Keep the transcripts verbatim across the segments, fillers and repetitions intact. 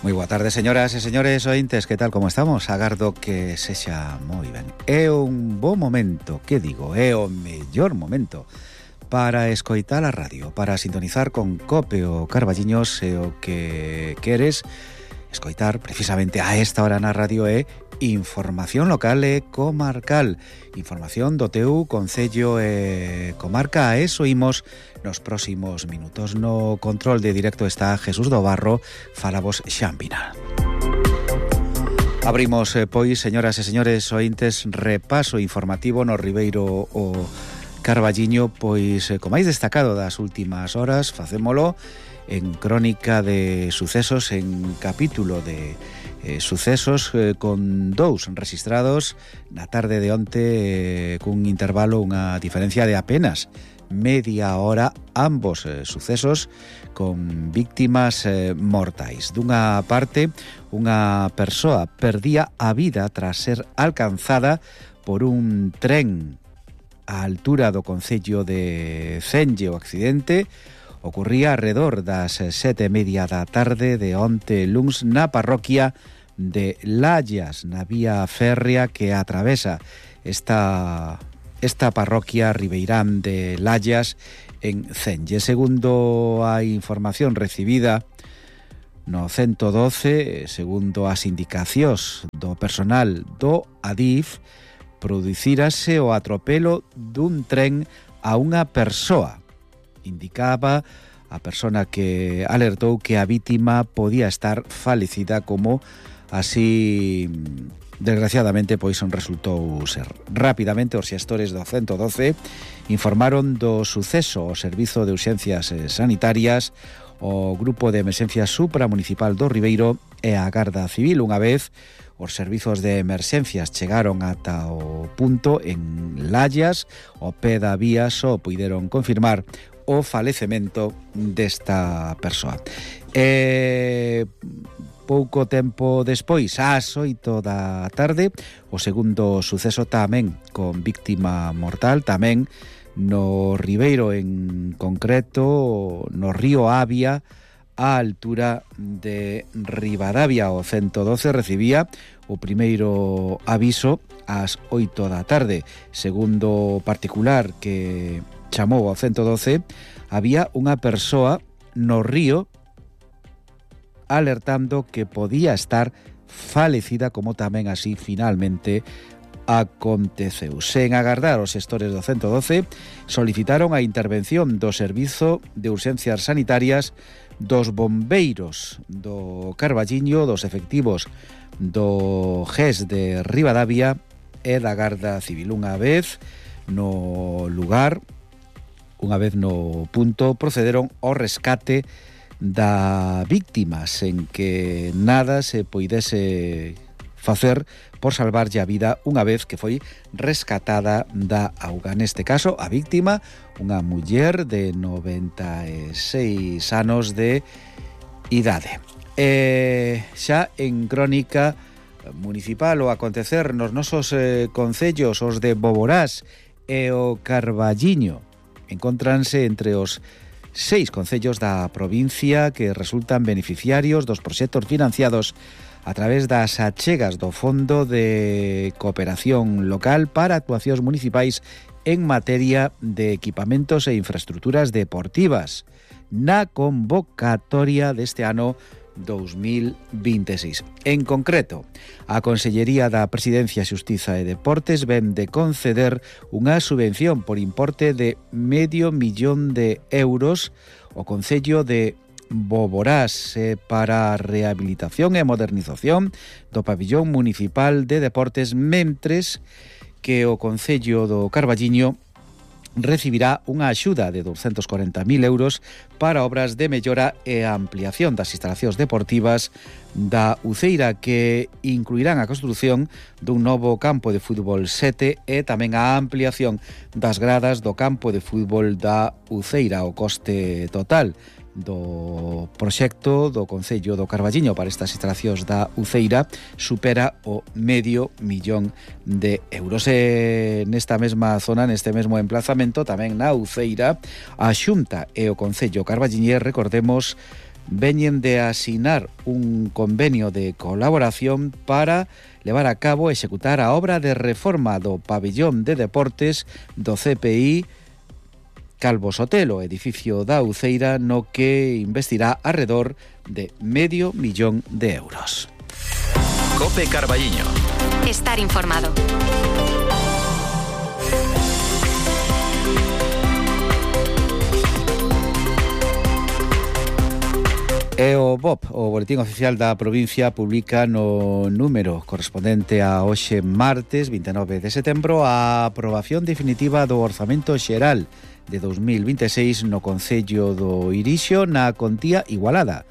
Moi boa tarde, señoras e señores ointes, que tal, como estamos? Agardo que sexa moi ben. É un bo momento, que digo, é o mellor momento para escoitar a radio, para sintonizar con Cope o Carballiños, e o que queres escoitar precisamente a esta hora na radio é información local e comarcal, información do teu concello e comarca. A eso imos nos próximos minutos. No control de directo está Jesús do Barro, falabos Xan Vinal. Abrimos, eh, pois, señoras e señores ointes, repaso informativo no Ribeiro o Carballiño, pois, eh, co máis destacado das últimas horas, facémolo en crónica de sucesos, en capítulo de eh, sucesos, eh, con dous registrados na tarde de onte, eh, cun intervalo, unha diferencia de apenas media hora, ambos eh, sucesos con víctimas eh, mortais. Dunha parte, unha persoa perdía a vida tras ser alcanzada por un tren á altura do concello de Cenge. O accidente ocurría alrededor das sete e media da tarde de onte luns na parroquia de Lallas, na vía férrea que atravesa esta, esta parroquia ribeirán de Lallas en Cenge. Segundo a información recibida no ciento doce, segundo as indicacións do personal do Adif, producírase o atropelo dun tren a unha persoa. Indicaba a persona que alertou que a vítima podía estar falecida, como así desgraciadamente pois resultou ser. Rapidamente os xestores do ciento doce informaron do suceso o Servizo de Urxencias Sanitarias, o Grupo de Emerxencias Supramunicipal do Ribeiro e a Garda Civil. Unha vez os servizos de emerxencias chegaron ata o punto en Lallas, o pé da vía, só puideron confirmar o falecemento desta persoa. E pouco tempo despois, ás oito da tarde, o segundo suceso tamén con víctima mortal, tamén no Ribeiro, en concreto no río Avia, á altura de Ribadavia. O ciento doce recibía o primeiro aviso ás oito da tarde. Segundo particular que chamou ao ciento doce, había unha persoa no río alertando que podía estar falecida, como tamén así finalmente aconteceu. Sen agardar, os xestores do ciento doce solicitaron a intervención do Servizo de Urxencias Sanitarias, dos bombeiros do Carballiño, dos efectivos do G E S de Ribadavia e da Garda Civil. Unha vez no lugar, unha vez no punto, procederon ao rescate da víctima, sen que nada se poidese facer por salvarlle a vida unha vez que foi rescatada da auga. Neste caso, a víctima, unha muller de noventa e seis anos de idade. E xa en crónica municipal, o acontecer nos nosos eh, concellos, os de Boborás e o Carballiño, encontranse entre os seis concellos da provincia que resultan beneficiarios dos proxectos financiados a través das achegas do Fondo de Cooperación Local para actuacións municipais en materia de equipamentos e infraestructuras deportivas na convocatoria deste ano dous mil veintiséis. En concreto, a Consellería da Presidencia, Xustiza e Deportes ven de conceder unha subvención por importe de medio millón de euros ao Concello de Boborás eh, para a rehabilitación e modernización do pabillón municipal de deportes, mentres que o Concello do Carballiño recibirá unha axuda de doscientos cuarenta mil euros para obras de mellora e ampliación das instalacións deportivas da Uceira, que incluirán a construción dun novo campo de fútbol sete e tamén a ampliación das gradas do campo de fútbol da Uceira. O coste total do proxecto do Concello do Carballiño para estas instalacións da Uceira supera o medio millón de euros. E nesta mesma zona, neste mesmo emplazamento, tamén na Uceira, a Xunta e o Concello carballiñés, recordemos, veñen de asinar un convenio de colaboración para levar a cabo e executar a obra de reforma do pabillón de deportes do C P I Calvo Sotelo, edificio da Uceira, no que investirá arredor de medio millón de euros. Cope Carballiño. Estar informado. E o B O P, o Boletín Oficial da Provincia, publica no número correspondente a hoxe martes vinte e nove de setembro a aprobación definitiva do Orzamento Xeral de dos mil vinte e seis no Concello do Irixo na contía igualada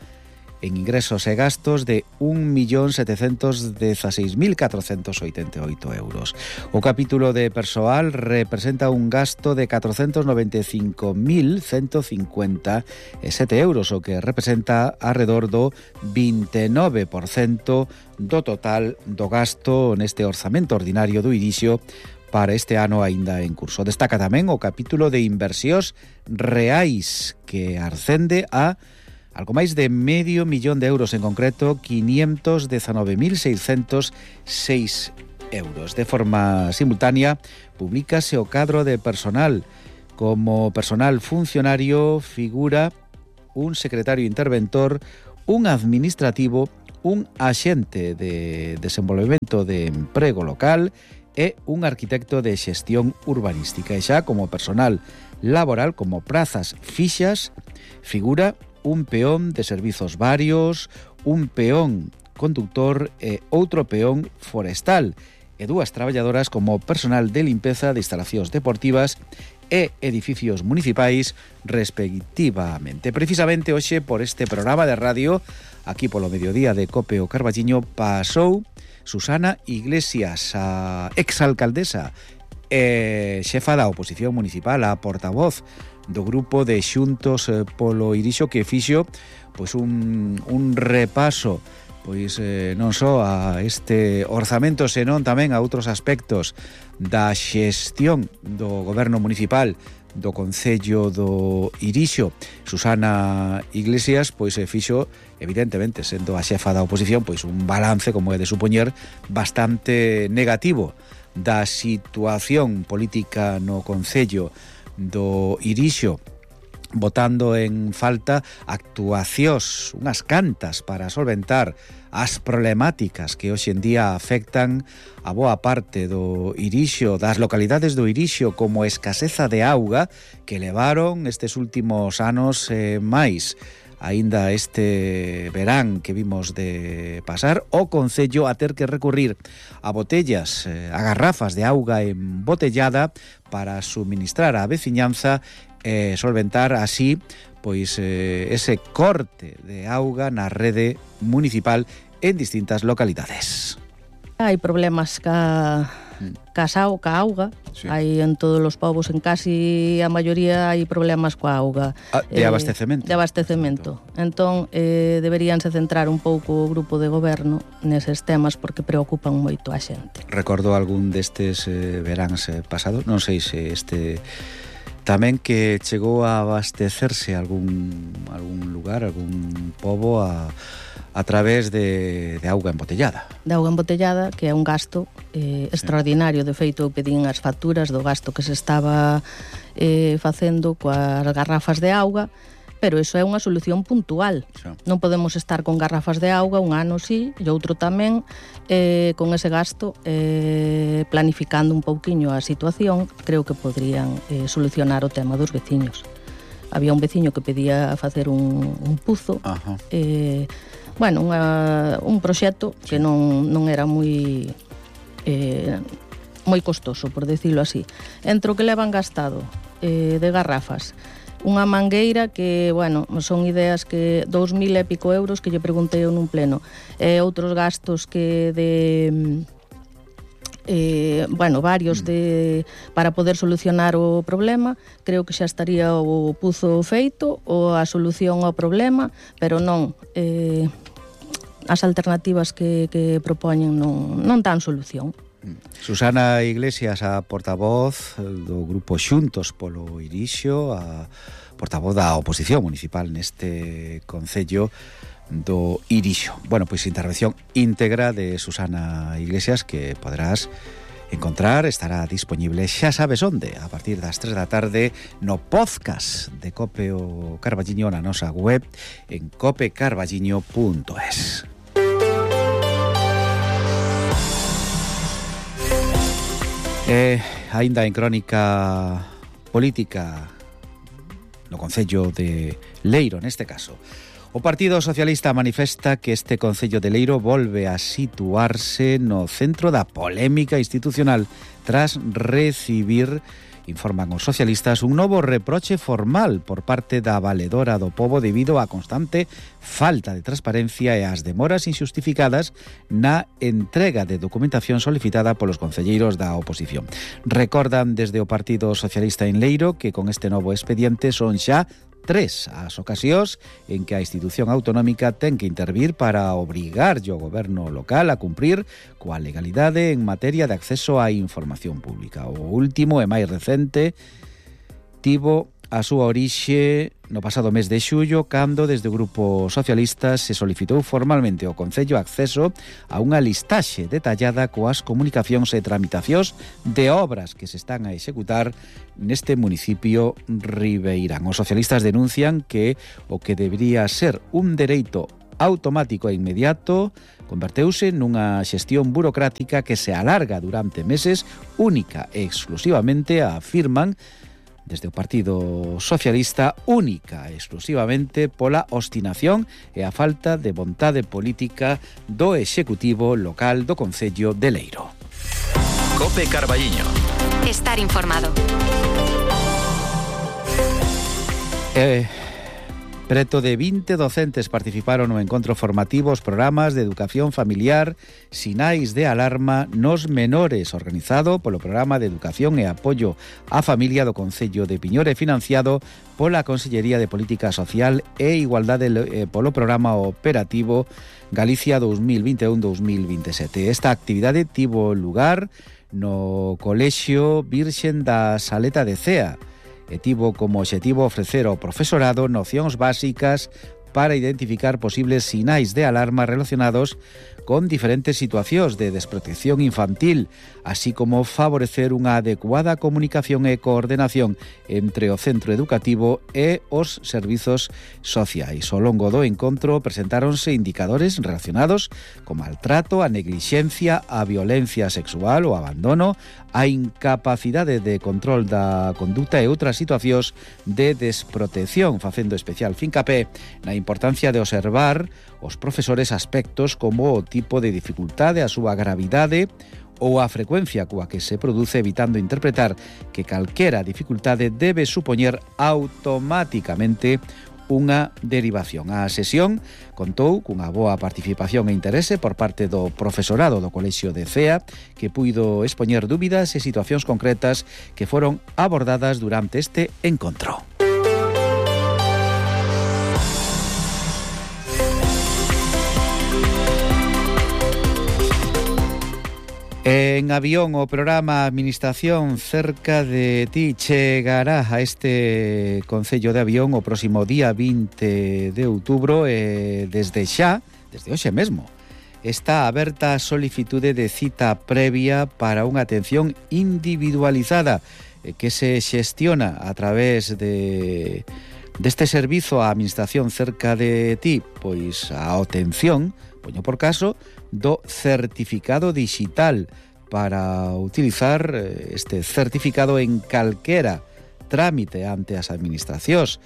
en ingresos e gastos de un millón setecentos dezaseis mil catrocentos oitenta e oito euros. O capítulo de persoal representa un gasto de catrocentos noventa e cinco mil ciento cincuenta e sete euros, o que representa alrededor do vinte e nove por cento do total do gasto neste orzamento ordinario do Irixo para este ano aínda en curso. Destaca tamén o capítulo de inversións reais, que ascende a algo máis de medio millón de euros, en concreto quinientos dezanove mil seiscentos seis euros. De forma simultánea, publícase o cadro de personal. Como personal funcionario figura un secretario interventor, un administrativo, un axente de desenvolvemento de emprego local e un arquitecto de xestión urbanística. E xa como personal laboral, como prazas fixas, figura un peón de servizos varios, un peón conductor e outro peón forestal, e dúas traballadoras como personal de limpeza de instalacións deportivas e edificios municipais, respectivamente. Precisamente hoxe, por este programa de radio, aquí polo mediodía de Cope o Carballiño, pasou Susana Iglesias, a exalcaldesa e xefa da oposición municipal, a portavoz do grupo de Xuntos polo Irixo, que fixo pois un, un repaso pois eh, non só a este orzamento, senón tamén a outros aspectos da xestión do goberno municipal do Concello do Irixo. Susana Iglesias pois fixo, evidentemente, sendo a xefa da oposición, pois un balance, como é de supoñer, bastante negativo da situación política no Concello do Irixo, botando en falta actuacións, unhas cantas, para solventar as problemáticas que hoxe en día afectan a boa parte do Irixo, das localidades do Irixo, como escaseza de auga, que levaron estes últimos anos eh, máis aínda este verán que vimos de pasar, o Concello a ter que recurrir a botellas, a garrafas de auga embotellada para suministrar á veciñanza e solventar así pois eh, ese corte de auga na rede municipal en distintas localidades. Hai problemas ca, ca, sao, ca auga, sí. Hai en todos os povos, en casi a maioría hai problemas coa auga. Ah, de abastecemento. Eh, de abastecemento. Entón, eh, deberíanse centrar un pouco o grupo de goberno neses temas, porque preocupan moito a xente. Recordo algún destes eh, veráns eh, pasados, non sei se este tamén, que chegou a abastecerse algún algún lugar, algún pobo a a través de, de auga embotellada. De auga embotellada, que é un gasto eh, extraordinario. De feito, eu pedín as facturas do gasto que se estaba eh, facendo coas garrafas de auga, pero iso é unha solución puntual. Sí. Non podemos estar con garrafas de auga un ano sí e outro tamén, eh, con ese gasto, eh, planificando un pouquiño a situación, creo que podrían eh, solucionar o tema dos veciños. Había un veciño que pedía facer un, un puzo, Ajá. eh, bueno, unha, un proxecto que non, non era moi eh, moi costoso, por decirlo así. Entre o que levan gastado eh, de garrafas, unha mangueira que, bueno, son ideas que dous mil e pico euros que lle preguntei eu nun pleno, e outros gastos que de eh, bueno, varios de para poder solucionar o problema. Creo que xa estaría o puzo feito ou a solución ao problema, pero non, eh, as alternativas que, que propoñen non, non dan solución. Susana Iglesias, a portavoz do grupo Xuntos polo Irixo, a portavoz da oposición municipal neste concello do Irixo. Bueno, pois intervención íntegra de Susana Iglesias que poderás encontrar, estará disponible xa sabes onde, a partir das tres da tarde no podcast de Cope o Carballiño na nosa web en cope carballiño punto es. E aínda en crónica política no concello de Leiro, neste caso, o Partido Socialista manifesta que este concello de Leiro volve a situarse no centro da polémica institucional tras recibir, informan os socialistas, un novo reproche formal por parte da valedora do pobo debido á constante falta de transparencia e as demoras injustificadas na entrega de documentación solicitada polos concelleiros da oposición. Recordan desde o Partido Socialista en Leiro que con este novo expediente son xa tres as ocasións en que a institución autonómica ten que intervir para obrigar o goberno local a cumprir coa legalidade en materia de acceso á información pública. O último e máis recente tivo a súa orixe no pasado mes de xullo, cando desde o Grupo Socialista se solicitou formalmente ao Concello acceso a unha listaxe detallada coas comunicacións e tramitacións de obras que se están a executar neste municipio ribeirán. Os socialistas denuncian que o que debería ser un dereito automático e inmediato converteuse nunha xestión burocrática que se alarga durante meses, única e exclusivamente, afirman desde o Partido Socialista, única e exclusivamente pola obstinación e a falta de vontade política do Executivo local do concello de Leiro. Cope Carballiño. Estar informado. Eh... Preto de vinte docentes participaron no encontro formativo os programas de educación familiar Sinais de Alarma nos Menores, organizado polo Programa de Educación e Apoio á Familia do Concello de Piñor e financiado pola Consellería de Política Social e Igualdade eh, polo Programa Operativo Galicia dos mil vinte e un a dos mil vinte e sete. Esta actividade tivo lugar no Colexio Virxen da Saleta de Cea e tivo como obxectivo ofrecer ao profesorado nocións básicas para identificar posibles sinais de alarma relacionados con diferentes situacións de desprotección infantil, así como favorecer unha adecuada comunicación e coordenación entre o centro educativo e os servizos sociais. Ao longo do encontro presentáronse indicadores relacionados co maltrato, a neglixencia, a violencia sexual, o abandono, a incapacidade de control da conduta e outras situacións de desprotección, facendo especial fincapé na importancia de observar os profesores aspectos como o tipo de dificultade, a súa gravidade ou a frecuencia coa que se produce, evitando interpretar que calquera dificultade debe supoñer automáticamente unha derivación. A sesión contou cunha boa participación e interese por parte do profesorado do Colexio de Cea, que puido expoñer dúbidas e situacións concretas que foron abordadas durante este encontro. En avión, o programa Administración cerca de ti chegará a este concello de Avión o próximo día vinte de outubro e desde xa, desde hoxe mesmo, está aberta a solicitude de cita previa para unha atención individualizada que se xestiona a través de deste servizo a Administración cerca de ti, pois a obtención, poño por caso, do certificado digital para utilizar este certificado en calquera trámite ante as administracións,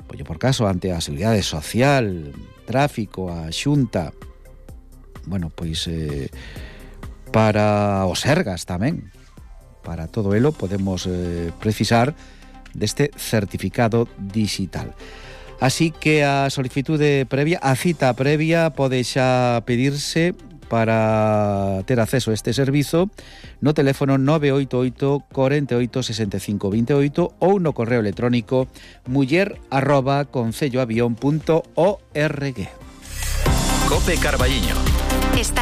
poño por caso ante a Seguridade Social, Tráfico, a Xunta, bueno, pois eh, para os Sergas tamén, para todo elo podemos eh, precisar deste certificado digital. Así que a solicitude previa, a cita previa pode xa pedirse para ter acceso a este servizo no teléfono nove oito oito, cuatro oito, seis cinco dos oito ou no correo electrónico muller arroba concelloavión punto org. Cope Carballiño. Está